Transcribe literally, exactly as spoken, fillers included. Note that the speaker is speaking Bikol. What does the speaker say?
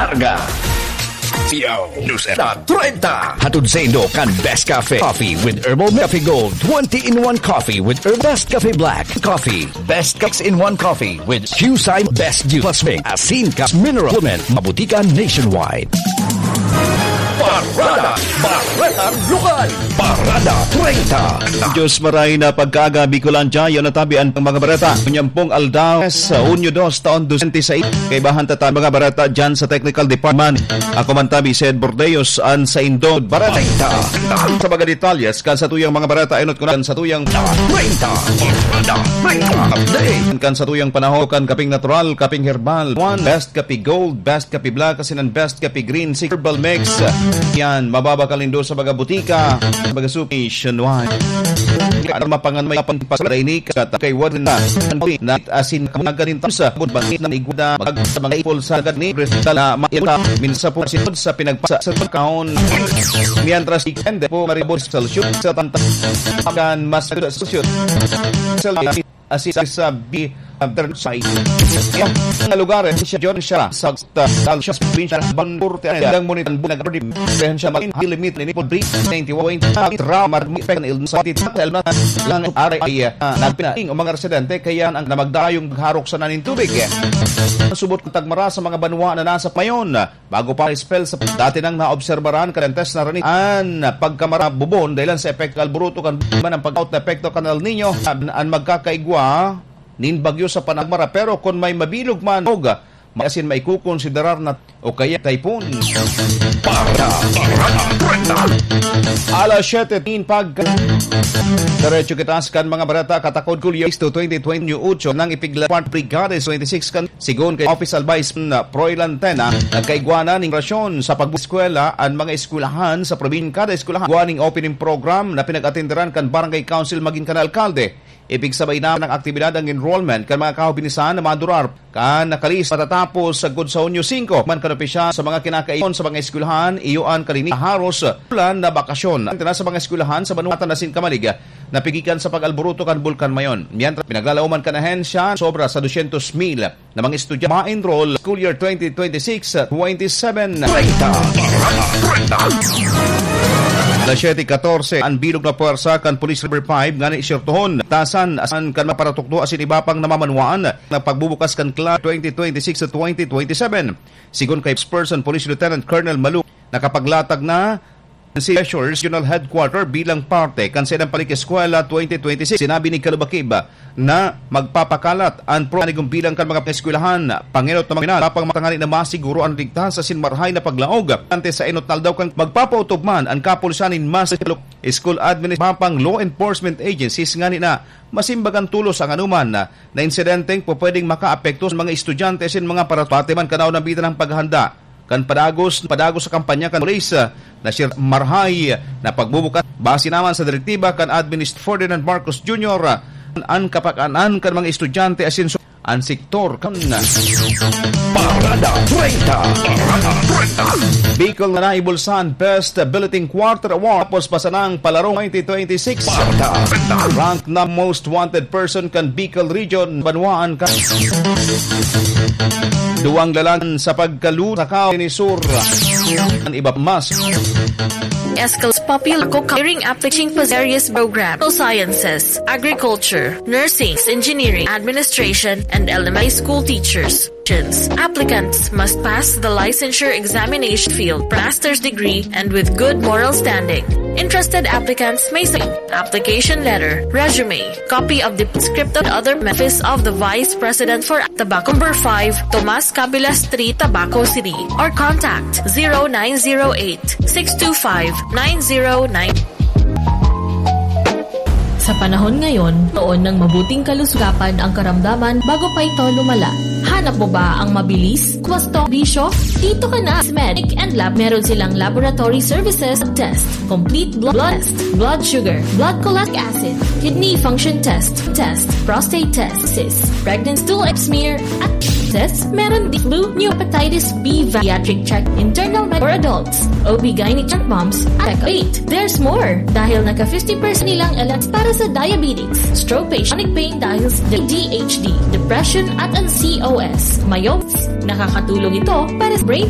Arga. Yo, News na treinta. Hatod saindo kan Best Cafe Coffee with Herbal Cafe Gold. Twenty-in-one Coffee with Herbal Best Cafe Black Coffee. Best Six-in-one Coffee with Q C I Best Juice Plus Mix. Asin ka mineral supplement. Mabutikan nationwide. Parada, Parada Lokal, Parada treinta. Diyos maray na pagkaaga, Bicolandia, yaon na tabi an mga bareta. Unyampong aldaw, sa Hunyo dos, taon dos mil seis. Kaibahan ta tabi mga bareta dyan sa technical department. Ako man tabi, Sed Bordeos, an saindo bareta. Sa mga detalyes, kan satuyang mga bareta, inot ko na kan satuyang treinta. Parada treinta. Update. Kan satuyang panahon, kan kaping natural, kaping herbal. One, best kape gold, best kape black, asin an best kape green, si herbal mix. Yan, mababakal nindo sa mga butika, sa mga suki, nationwide. Ano mapangan may kapang pasarainik, at kay Warden na, na asin, kamaganin sa bangkit na igwa, mag-, sa mga ipol sa gani, kristal na mairta, minsan po sinod sa pinagpasa sa pagkaon. Mientras, ikende po, maribos sa lusyon, sa tanta-, kan mas sa lusyon. Sa asin sa B, uh, Burnside. Ang lugar, eh, siya, John siya, sa, uh, Dalsias, probinsya, Banpur, Tiyan, Dang Munitan, Bunag, Ardim, Rehensya, Malin, Hilimit, Linipod, Bri, ninety-one, Ramat, Pekan, Ilm, sa Titan, Elma, lang, Aray, ay, uh, nagpinaing ang mga residente, kaya ang namagdayong magharok sa naning tubig, eh. Ang subot ng tagmara sa mga banwa na nasa mayon, bago pa spell sa dati nang naobserbaran kan antes na rani an pagkamarabubon dahilan sa epekto alburuto kan man ang pag-out na epekto kan El Nino an, an magkakaigwa nin bagyo sa panagmara, pero kun may mabilog man og may asin maikukonsiderar na o kaya typhoon. Para, para, para. Alas siyete tin pag diretso kita sa kan mga bareta katakod Julio to twenty twenty-eight nang ipigla part Brigades twenty-six kan Sigon kay Office Advice na Proy Lantena, nagkaigwa na ning rasyon sa pag-eskwela an mga eskwelahan sa probinsya. Kada eskwelahan igwa ning opening program na pinag-atenderan kan Barangay Council magin kan alkalde. Ipigsabay na ang aktibidad ang enrollment kan mga kahobinisan na madurar kan nakalis matatapos sa gud sa Hunyo singko. Man kan opisyal sa mga kinakaiyon sa mga eskwelahan, iyo an kalini haros ulan na bakasyon. Antena sa mga eskwelahan sa Banwatan asin Kamalig, napigikan sa pag-alburuto kan Bulkan Mayon. Mientras, pinaglalaoman kan ahensya sobra sa dosyentos mil na mga estudyante ma-enroll school year twenty twenty-six twenty-seven. Treinta, treinta. Alas siyete katorse, an bilog na pwersa kan Police River five ngani sertohon, tasan, asin kan mga paratukdo asin iba pang namamanwaan na pagbubukas kan CLAR twenty twenty-six twenty twenty-seven. Sigon kay Spokesperson Police Lieutenant Colonel Malu, nakapaglatag na si Regional Headquarter bilang parte kan Sedang Palik Eskwela twenty twenty-six. Sinabi ni Kalubakib na magpapakalat an pro-, anigong bilang kan mga eskwelahan, pangenot na mga pinal, papang matangani na masiguro an ligtas asin marahay na paglaog. Ante sa enot na aldaw kan magpapautob man an kapulisan nin mas school admin, mapang law enforcement agencies ngani na masimbagan tolos ang anuman na insidenteng pwedeng makaapekto sa mga estudyante asin mga parato. Pati man kanaw na bida ng paghanda kan padagos, padagos sa kampanya kan pulis, ah, na siya marahay na pagbubukas. Base naman sa direktiba kan Administ Ferdinand Marcos Junior, ah, an kapakan-an kan mga estudyante asin so-, an sektor kan Parada treinta. Parada treinta. Bicol na naibulsan Best Bulletin Quarter Award tapos pasanang palarong twenty twenty-six. Parada treinta. Rank na most wanted person kan Bicol Region, banwaan ka. Duwang lalan sa pagkalu-, sa kaw ni Sur. An iba mas. Escal's popular co-caring application for various programs, sciences, agriculture, nursing, engineering, administration, and elementary school teachers. Applicants must pass the licensure examination field, master's degree, and with good moral standing. Interested applicants may submit application letter, resume, copy of the script of other office of the Vice President for Tabaco Number five, Tomas Cabilas Street, Tabaco City, or contact zero nine zero eight, six two five, nine zero nine. Sa panahon ngayon, toon ng mabuting kalusugapan ang karamdaman bago pa ito lumala. Hanap mo ba ang mabilis, kwastong bisyo? Dito ka na, Medic and Lab. Meron silang laboratory services, test, complete blo-, blood test, blood sugar, blood cholesterol acid, kidney function test, test, prostate test, cyst, pregnancy stool smear, at test. Meron din flu, new hepatitis B, pediatric check, internal med for adults, O B gynae check, moms, at eight. There's more. Dahil naka fifty percent nilang elat para sa diabetes, stroke patient, chronic pain dahil sa D H D, depression at ang C O S. Mayo, nakakatulong ito para sa brain